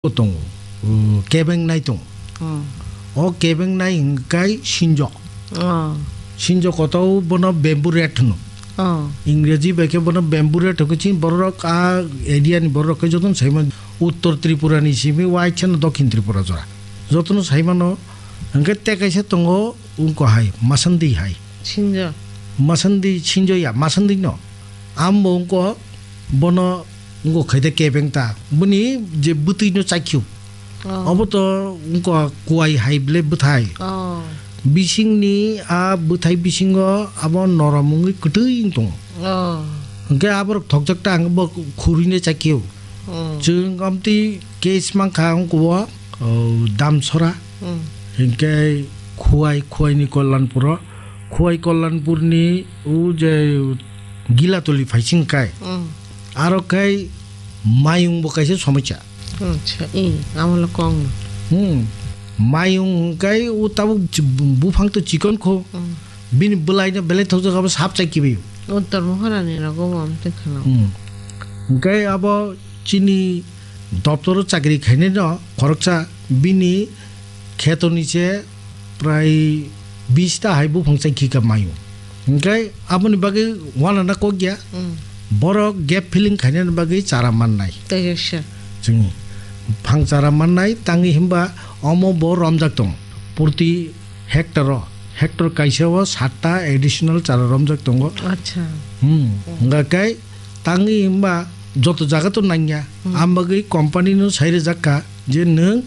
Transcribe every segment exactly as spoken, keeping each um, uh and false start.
tongo, uh, kebengnai tongo. Oh. O kebengnai hingkai sinjok. Oh. Sinjok koto bono bamboo rat hwno. Oh. Ingreji bai khe bono bamboo rat hwnkhe chini borok a area ni borok khe jotono saimano Uttor Tripura ni simi waisano Dokhin Tripura jora. Jotono saimano hwnkhe tei kaisa tongo wngkha hai masandi hai. Sinjo. Masandi sinjo ya masandi no. Ambo wngkha bono wngkha khaide kebeng ta. Bini je bwtwi no chakhiu. Oh. Obo to wngkha kuai hai ble bwthai. Oh. Bisingni a bwthai bisingo abo norom wngwi kwtwi wng tongo. Oh. Hwnkhe aborok thokjak ta ang bo khurui no chakhiu. Oh. Chwng amtwi case mankha wngkha o, oh, Damsora. Hmm. Hwnkhe Khuwai, Khuwaini Kollanpuro. Khuwai Kollanpurni o je Gilatoli phaising kai. Hmm. Aro khai mayung bo kaisa somosya. Acha, i, amo le kong no. Hmm. Mayung hwnkhe o tabuk chi-, buphang to chikon kho. Hmm. Bini bwlaino belai thokjak abo sap chai kibi. Uttor Mohorani rogo bo amtwi khwna. Hmm. Hwnkhe abo chini doptoro chakri khainai no khoroksa bini khetoni se prai bis ta hai buphang chai khika mayo. Hwnkhe aboni bagwi wanana kok ya. Hmm. Borok gap filling khainani bagwi chara mannai. Tei kaisa. Chwng phang chara mannai tangwi himba omo bo romjak tong. Purti hectare o, hectare kaisa o satta additional chara romjak tongo. Acha. Hmm. Hmm. Hwnkha khe tangwi himba joto jaga to nangya. Hmm. Am bagwi company no sai rwjak kha je nwng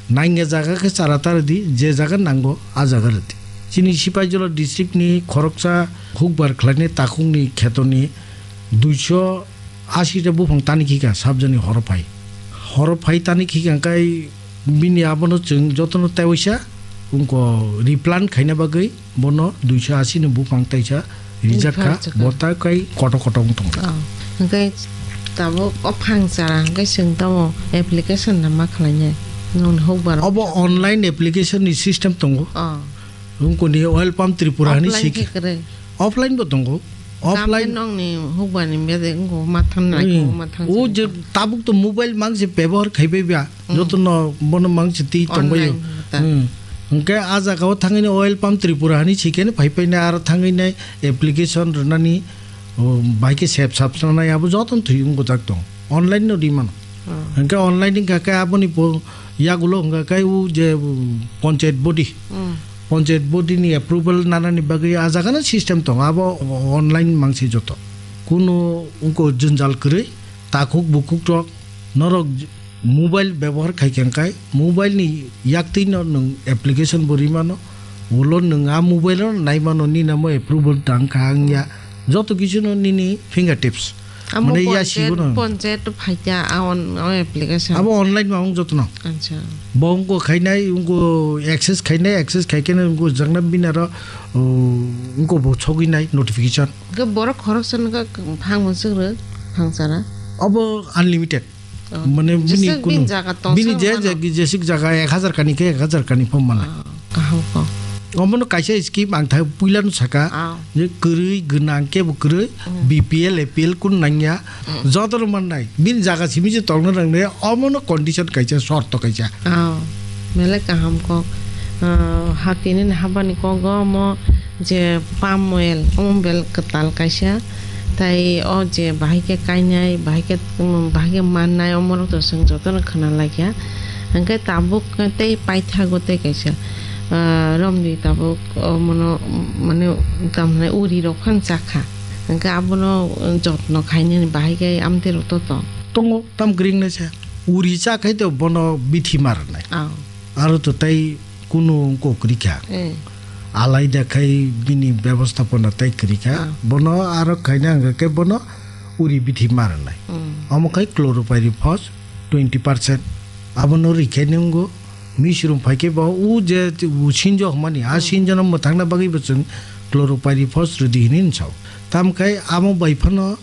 nangya jaga khe chara ta rwdi, je jaga nango a jaga rwdi. Chini Sipaijala district ni khoroksa hukbar khlainai takhuk ni kheto ni duiso asi ta buphang tani khika sabjani horo phai. Horo phai tani khika kai bini abono chwng jotono tewaisa wngko replant khaina bagwi bono duiso asi ni buphang taisa rijak kha. Rijak kha. Bo ta kai koto koto wng tong kha. Oh. Hwnkhe tabuk o phang chara hwnkhe chwng tamo application na ma khlainai? Nwng hukbar. Obo online application ni system tongo. Oh. Wngkoni oil palm Tripura hani. Offline sik-, khe kwrwi. Offline bo tongo. Offline. Offline nongni hukbani bede wngkho mathang nai. Hmm. Kho mathang. O je tabuk to mobile mang se bebohar khai bai ba. Hmm. Joto no bono mang se twi tong bai. Online ta. Hmm. Hwnkhe a jaga o thangwi ni oil palm Tripura hani sikhe phai phai nai aro thangwi nai application rwnani, o, bai khe sep sap sanai abo joto no thwi wngkho jak tong. Online no ri mano. Hmm. Hwnkhe online wngkha khe aboni bo yagulo hwnkha khe o je, um, panchayat body. Hmm. Panchayat body ni approval nanani bagwi a jaga no system tongo, abo online mangsi joto. Kuno wngko jwnjal kwrwi, takhuk bukhuk rok norok j-, mobile bebohar khai khe hwnkhe mobile ni yaktwi no nwng application bo ri mano, ulo nwng a mobile no nai mano nini amo approval tang kha wngya, joto kisu no nini finger tips. Amo mane ya panchayat, sibo no. Panchayat to phaikya, a on, o application. Abo online ma wng jotono. Acha. Bo wngko khainai, wngko access khainai, access khaikhe wngko jakna bini aro, o, wngko bo sogwi nai notification. Ke borok khoroksa nokha phang bo swk rw, phang chara. Abo unlimited. Oh. Mane bini jeswk kunu, bini jaga tong bini sak je mano. Je, jeswk jaga ek hajar kani khe ek hajar kani pho mana. Ah. Kaham kok. Omono kaisa scheme ang thai puila no saka, ah, je kwrwi gwnang kebo kwrwi, hmm, B P L, A P L kun nangya, hmm, joto no mannai. Bini jaga simi je tongna nangnai, omono condition kaisa, shorto kaisa. Ah, belai kaham kok. Ah, hatini ni habani kogo omo je palm oil, omo bel kwtal kaisa. Tai o je bahai khe kainai, bahai khe, um, bahai khe mannai, omorok to chwng jotono khna laikha. Hwnkhe tabuk tei paithago tei kaisa, ah, romdi tabuk, o, mono, mane, tamhinai uri rok phano chakha. Hwnkhe abono jotno khainani bahai khe amtwi rok to tong. Tongo, tam kwrwi wngnai se. Uri cha khai to bono bithi ma rwnai. Ah. Aro to tei kunu wngko kwrwi kha. Eh. Alaida khai bini bebostapona tei kwrwi kha. Ah. Bono aro khaina hwnkha khe bono uri bithi ma rwnai. Hmm. Omo khai chlorpyrifos twenty percent. Abono rwi khe nwngo misrum phai khe bo u je u sinjo hwnmani, a, hmm, sinjono mwthangna bagwi bo chwng chlorpyrifos rwdi hwnwi hwn sao. Tam khai amo bai phano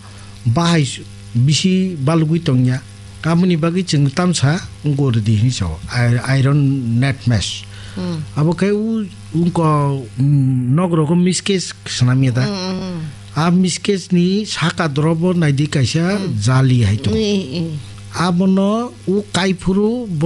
bahai s-, bisi balugwi tongya. Aboni bagwi chwng tamsa wngkha rwdi hinwi sao, i-, iron net mesh. Hmm. Abo khe u-, wngkha, mm, nok rogo miskes swnamya da. Hmm, hmm, hmm. A miskes ni saka dorobo naidi kaisa, hmm, jali hai tongo. Hmm, hmm. Abono u kaiphuru bo